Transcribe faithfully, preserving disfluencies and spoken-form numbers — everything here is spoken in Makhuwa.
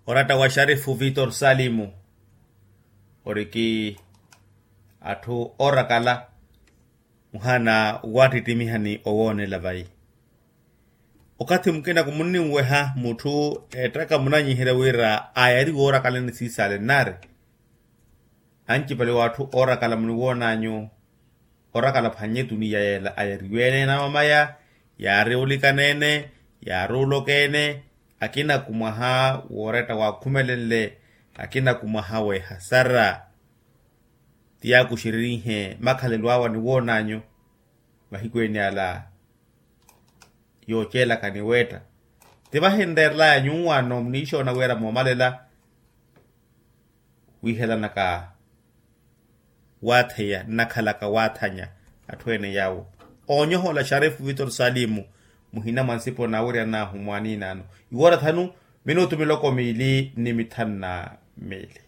Oratta wa sharifu vitor salimu, oriki atthu oorakala muhana waattittimiha ni owoonela vayi. Okathi mukina kumunninweha mutthu ettaka munanyiherya wira ayari woorakalani siisaale nnaari. Ancipale w'atthu oorakala muniwoonanyu orakala phwannye tuniya yeela ayariwe-ene namamaya, yaari olikaneene, yaari olokeene, akina kumwaha wooretta waakhumelenle, akina kumwaha w'ehasara. Ti yaakuxeririnhe makhalelo awe aniwoonanyu mahiku ene ala. Yooceelaka ni weetta ti vahinreerelaya nyuwaano muniixoona wira moomalela wiihelanaka waatheya nnakhalaka waathanya. Atthu ene yaawo oonyohola sharifu vitor salimu muhina mwa nsipo naawiryan'ahu mwaaniin'ano iwoora thanu minutu miloko miili ni mithanu na miili.